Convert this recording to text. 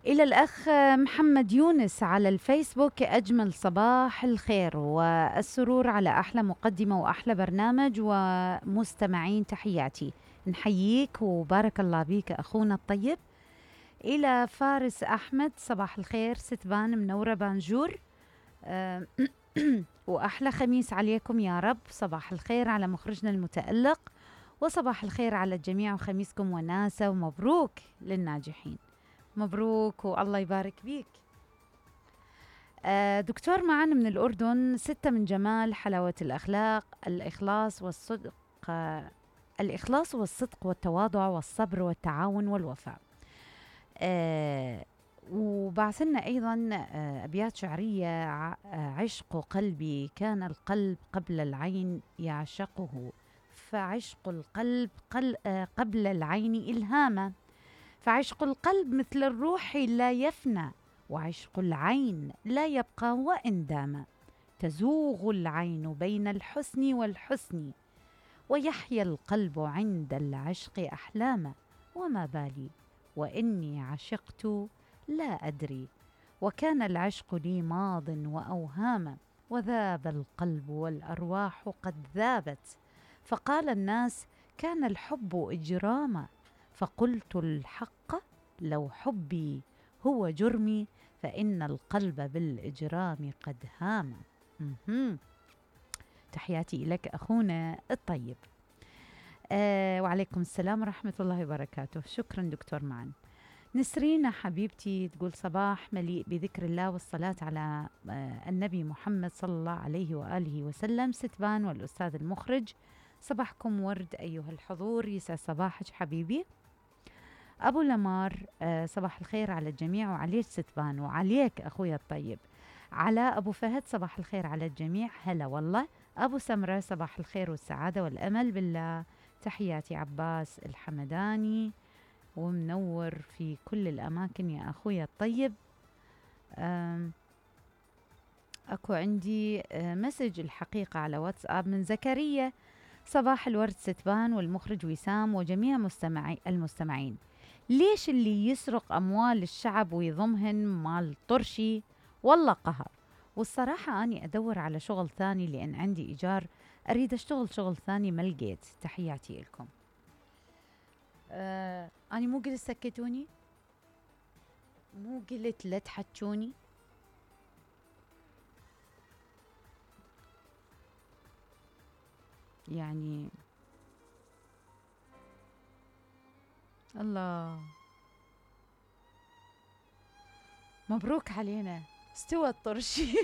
إلى الأخ محمد يونس على الفيسبوك: أجمل صباح الخير والسرور على أحلى مقدمة وأحلى برنامج ومستمعين، تحياتي. نحييك وبارك الله بيك أخونا الطيب. إلى فارس أحمد: صباح الخير ستبان منورة بانجور. وأحلى خميس عليكم يا رب. صباح الخير على مخرجنا المتألق، وصباح الخير على الجميع، وخميسكم وناسة، ومبروك للناجحين. مبروك والله يبارك بيك. دكتور معنا من الأردن: 6 من جمال حلاوة الأخلاق الإخلاص والصدق، الإخلاص والصدق والتواضع والصبر والتعاون والوفاء. وبعثنا أيضا أبيات شعرية: عشق قلبي كان القلب قبل العين يعشقه، فعشق القلب قبل العين إلهاما، فعشق القلب مثل الروح لا يفنى، وعشق العين لا يبقى وإن دام. تزوغ العين بين الحسن والحسن، ويحيا القلب عند العشق أحلاما، وما بالي وإني عشقت لا أدري، وكان العشق لي ماض وأوهاما، وذاب القلب والأرواح قد ذابت، فقال الناس كان الحب إجراما، فقلت الحق لو حبي هو جرمي، فإن القلب بالإجرام قد هام. تحياتي لك أخونا الطيب. وعليكم السلام ورحمة الله وبركاته. شكرا دكتور معن. نسرين حبيبتي تقول: صباح مليء بذكر الله والصلاة على النبي محمد صلى الله عليه وآله وسلم. ستبان والأستاذ المخرج، صباحكم ورد أيها الحضور، يسعد صباحك حبيبي. أبو لمار: صباح الخير على الجميع وعليك ستبان وعليك أخويا الطيب. علاء أبو فهد: صباح الخير على الجميع. هلا والله. أبو سمرة: صباح الخير والسعادة والأمل بالله. تحياتي. عباس الحمداني: ومنور في كل الأماكن يا أخويا الطيب. أكو عندي مسج الحقيقة على واتساب من زكريا: صباح الورد ستبان والمخرج وسام وجميع المستمعين. ليش اللي يسرق أموال الشعب ويضمهن مال طرشي؟ والله قهر. والصراحة أني أدور على شغل ثاني، لأن عندي إيجار أريد أشتغل شغل ثاني ما لقيت. تحياتي لكم. أنا مو قلت سكتوني؟ مو قلت لا تحجوني؟ يعني الله، مبروك علينا، استوى الطرشي.